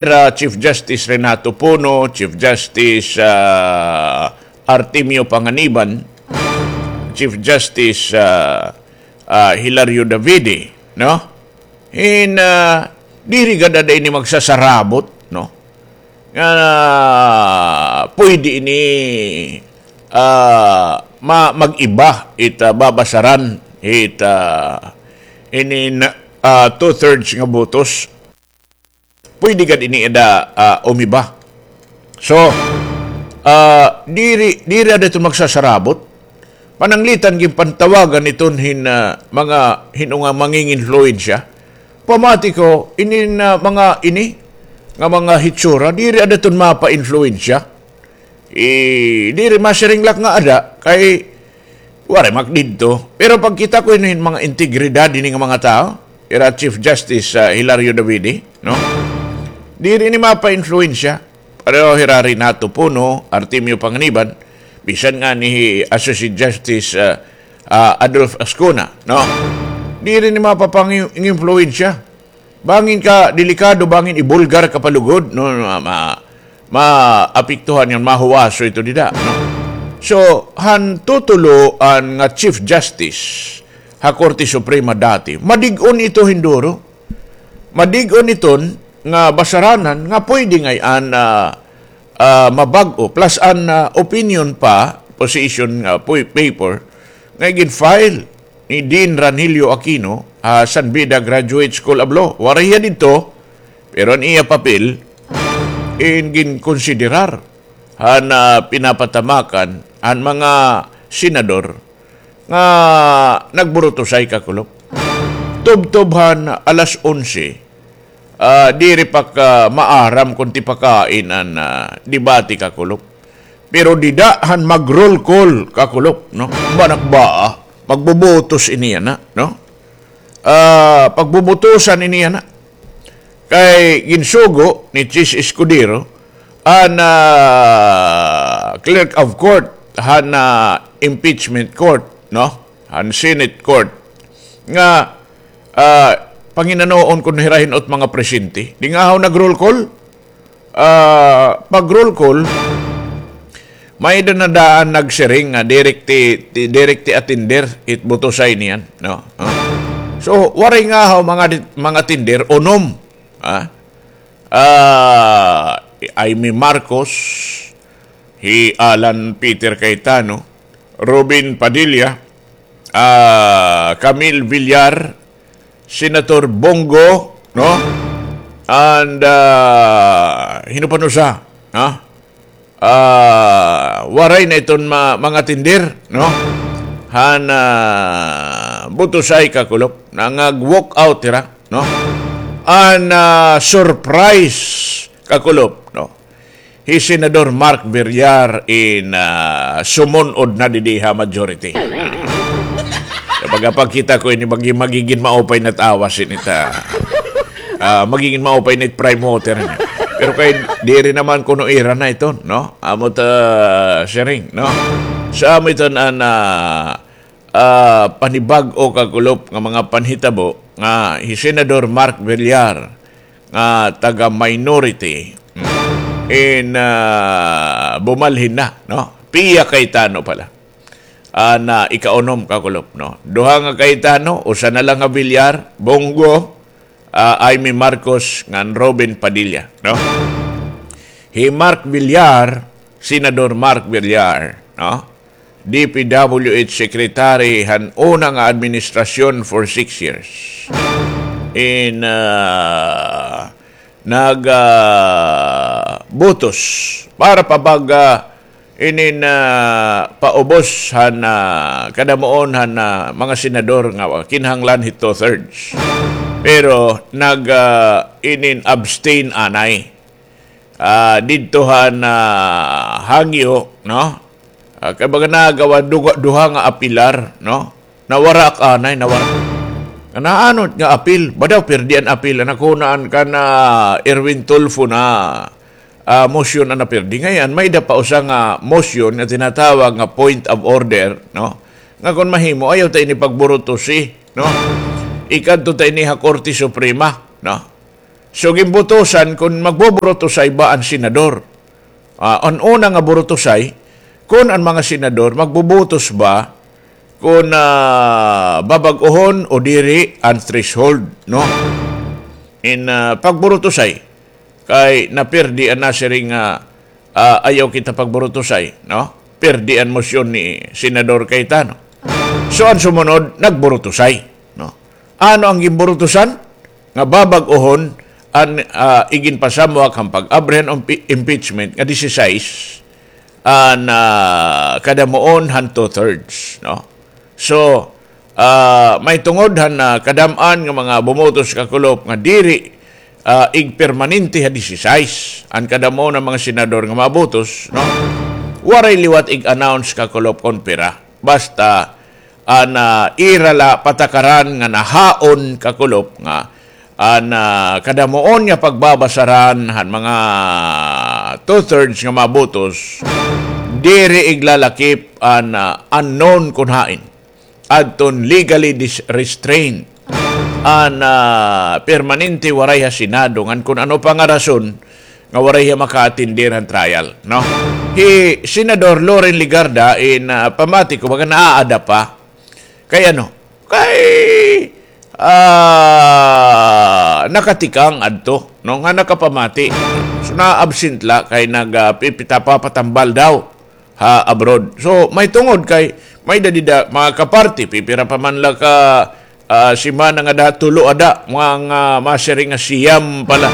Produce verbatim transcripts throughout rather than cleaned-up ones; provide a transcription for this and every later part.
Ra Chief Justice Renato Pono, Chief Justice, ah, Artemio Panganiban, Chief Justice, ah, ah, Hilario Davide, no? In, ah, diri gad ada ini magsasarabot, no? Nga pwede ini, ah, ma-, mag-iba it, ah, babasaran it, ah, ini na, ah, two-thirds nga botos. Pwede gad ini ada, ah, umiba. So, ah, diri, diri ada iton magsasarabot. Pananglitan ginpantawagan iton hin, ah, mga hin-o nga manging-influensya. Pamati ko, inin, ah, mga ini, nga mga hitsura, diri ada iton mapa-influensya. Eh, diri masiring la nga ada, kay waray man ak didto. Pero pagkita ko ini hin mga integridad ini nga mga tawo, ira Chief Justice, ah, Hilario Davide, no? Diri ini mapa-influensya. Pareho hira Renato Pono, Artemio Panganiban, bisan ngani hi Associate Justice, ah, ah, Adolf Ascuna, no? Diri ini mapapang-influensya. Bangin ka delikado, bangin ibulgar ka pa lugod, no, ma-, ma-, maapektuhan ngan mahuwaso ito dida, no? So, han tutulo an nga Chief Justice ha Korte Suprema dati, madig-on ito hin duro. Madig-on iton nga basaranan nga pwede ngay-an, ah, ah, mabag-o, plus an, ah, opinion pa, position nga pu-, paper, nga gin-file ni Dean Ranelio Aquino, ah, San Beda Graduate School of Law. Waray hiya didto, pero an iya papel in ginkonsiderar han, ah, pinapatamakan han mga senador nga nagburutusay, kakulop. Tubtob han alas onse, ah, diri pa ka maaram kon tipakain an, ah, debate, kakulop. Pero dida han mag-roll call, kakulop, no? Banak ba, ah? Magbubutos ini yana, no? Ah, pagbubutusan ini yana. Kay ginsugo ni Chiz Escudero an, ah, Clerk of Court han, ah, impeachment court, no? Han Senate court. Nga, ah, panginanoon kon hira hin-o it mga presente. Di ngahaw nag-roll call? Ah, pag-roll call, may-ada na daan nagsiring nga diri ti, ti, diri ti attender it butusay niyan, no? Ah. So, waray ngahaw mga di-, mga attender, unom. Ah? Ah, Imee Marcos, hi Alan Peter Cayetano, Robin Padilla, ah, Camille Villar, Senator Bong Go, no? And, ah, hin-o pa an usa, ha? Ah, waray na iton ma-, mga attender, no? Han, ah, butusay, kakulop, nangag-walk out hira, no? An, ah, surprise, kakulop, no? Hi Senador Mark Villar in, ah, sumun-od na didi ha majority. Sa pagkakita ko ini, magi-, magigin maupay na it awas ini ta. Ah, magigin maupay na it prime water ini. Pero kay diri naman kuno ira na iton, no? Amo ta siring, no? Sa amo iton an, ah, ah, panibag-o, kakulop, nga mga panhitabo nga hi Senador Mark Villar nga taga-minority in, ah, bumalhin na, no? Pia Cayetano pala. Ah, na ikaunom, kakulop, no? Duha nga Cayetano, usa na la nga Villar, Bong Go, ah, Imee Marcos, ngan Robin Padilla, no? Hi Mark Villar, Senador Mark Villar, no? D P W H Secretary han una nga administrasyon for six years. In, ah, nag, ah, butos para pa bag, ah, inin, ah, paubos han, ah, kadamuon han, ah, mga senador nga kinahanglan hi two-thirds. Pero nag, ah, inin abstain anay. Ah, didto han, ah, hangyo, no? Ah, kay baga nagawa duha, duha nga apilar, no? Nawara ak anay, nawara. Nga naano nga apil, ba daw pirdi an apil, an nakunaan kan, ah, Erwin Tulfo na, ah, motion an napirdi. Ngay-an, may-ada pa usa nga motion nga tinatawag nga point of order, no? Nga kon mahimo, ayaw ta ini pagburutusi, no? Ikadto ta ini ha Korte Suprema, no? So, ginbutusan kon magbuburutusay ba an senador. Ah, an una nga burutusay, kon an mga senador magbubutos ba kon, ah, babag-ohon o diri an threshold, no? In, ah, pagburutusay, kay napirdi an nasiring nga, ah, ayaw kita pagburutusay, no? Pirdi an mosyon ni Senador Cayetano. So, an sumunod, nagburutusay, no? Ano an ginburutusan? Nga babag-ohon an, ah, iginpasamwak han pag-abri han impi-, impeachment nga disisais an, ah, kadamuon han two-thirds, no? So, ah, may tungod han, ah, kadam-an nga mga bumutos kakulop nga diri, ah, igpermanente ha disisais an kadamuon han mga senador nga mabutos, no? Waray liwat ig-announce kakulop kon pira. Basta, an, ah, ira la patakaran nga nahaon kakulop nga an, ah, kadamuon nga pagbabasaran han mga two-thirds nga mabutos, diri iglalakip an, ah, unknown kon hain. Adton legally dis-, restrained an, ah, permanente waray ha Senado, ngan kon ano pa nga rason nga waray hiya maka-attender han trial, no? Hi Senador Loren Legarda in, ah, pamati ko, baga naaada pa. Kay ano? Kay, ah, nakatikang adto, no? Nga nakapamati. So, na-absent la kay nag, ah, pipita pa patambal daw ha abroad. So, may tungod kay may dadida, mga kaparty, pipira pa man la ka, ah, semana nga da, tulo ada, mga, ah, masiring nga siyam pala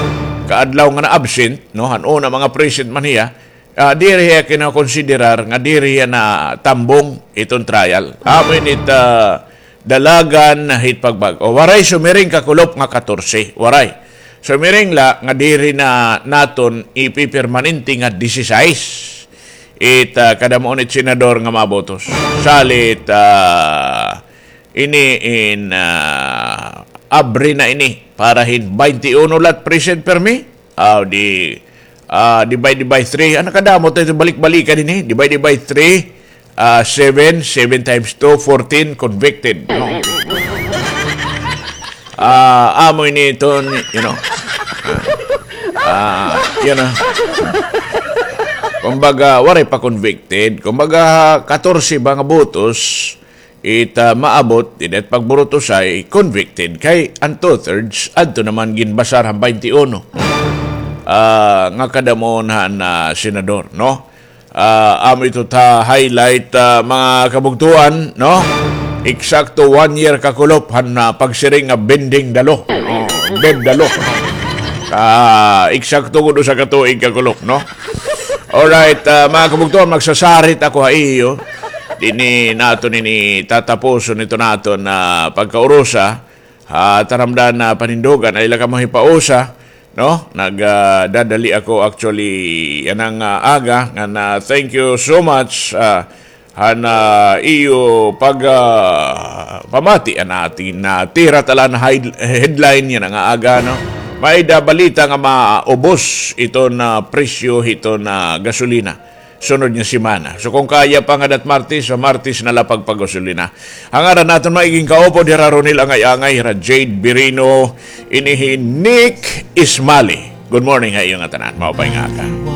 ka adlaw nga na-absent, no? Han una, mga present man hiya. Ah, diri hiya kinakonsiderar nga diri hiya natambong iton trial. Amo ini it, ah, dalagan hit pagbag-o. Waray sumiring kakulop nga katorse. Waray. Sumiring la nga diri na naton ipipermanente nga disisais it, ah, kadamuon it senador nga mabutos. Salit, ah, ini in, ah, abri na ini para hin baynte uno la it present permi. Ah, di, ah, divide by three. Ano kadamo tayo balik-balikan ini? Divide by three, ah, seven, seven times two, fourteen convicted. No? Ah, amo ini iton, you know. Ah, you know. Kumbaga, waray pa convicted. Kumbaga, katorse ba nga butos, it, ah, maabot, dida it pagburutusay, convicted. Kay an two-thirds, adto naman ginbasar han baynte uno. Ah, nga kadamuon han, ah, senador, no? Ah, amo ito ta highlight, ah, mga kabugtuan, no? Eksakto one year kakulop han, ah, pagsiring nga bending the law. Oh, bend the law. Ah, eksakto gud usa ka tuig kakulop, no? Alright, ah, mga kabugtuan, magsasarit ako ha iyo. Dinhi naton ini tatapuson ito naton, ah, pagkaurusa. Ah, taramdan na panindugan, ay la kamo hipausa, no? Nag, ah, dadali ako actually yana nga, ah, aga, ngan, ah, thank you so much, ah, han, ah, iyo pag, ah, pamati an aton, ah, tira talan hide-, headline yana nga, ah, aga, no? May da balita nga maubos iton, ah, presyo hiton, ah, gasolina sunod nga semana. So, kon kaya pa ngada it Martes, so Martes na la pagpagasolina. Ha ngaran naton mga igin kaupod, hira Ronel Angay-angay, hira Jade Birino, ini hi Nick Ismali. Good morning ha iyo ngatanan. Maupay nga aga.